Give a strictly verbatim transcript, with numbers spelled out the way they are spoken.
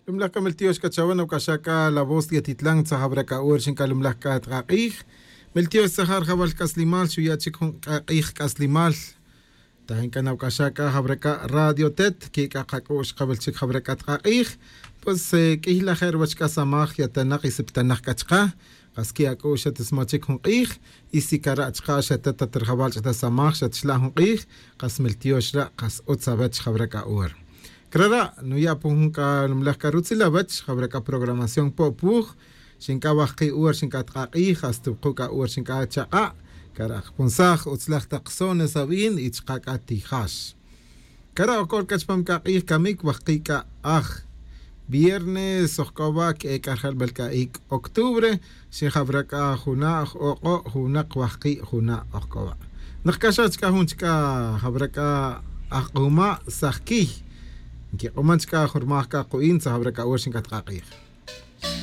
Lumlaj c'a meltiox c'a chawe nawc'axa c'a la voz yatitlan tzajawra c'a hora xin c'a lumlaj c'a tk'ak'ij. Meltiox tzajar jawal c'aslimal xuya' chic jun k'a k'ij c'aslimal. Tajin c'a nawc'axa c'a jawra c'a radio tet que c'a kac'u'x kawil chic jawra c'a tk'ak'ij. Pues q'uiy lajer wach c'a samaj yatanak y siptanak c'a chka. Kas que ac'u'x xatismachic jun k'ij. Y si cara' chka' xatat tat rijawal ch'ata samaj xatxla' jun k'ij. Kas meltiox ra' kas utz awech jawra c'a hora. Crara' nuya' pon jun c'a lumlaj c'a rutzil awech jawra c'a programación po' puj. Xinc'a wajki' hora xinc'a tk'ak'ij hasta wuku' c'a hora xinc'a chak'a'. Cara' kpunsaj utzlaj tak sones awin y chka' c'a tijax. Cara' ojc'ol c'a chpam c'a k'ij camic wajki' c'a aj viernes ojc'o wa' que'e c'a rjalbel c'a ic' octubre. Xijawra c'a juna' j-ok'o' junak wajki' juna' ojc'o wa'. Nak c'a xa chca jun chca jawra c'a ajk'uma' sajquiy. Nquik'uman chca jun rmaj c'a ku'in tzajawra c'a hora xinc'a tk'ak'ij.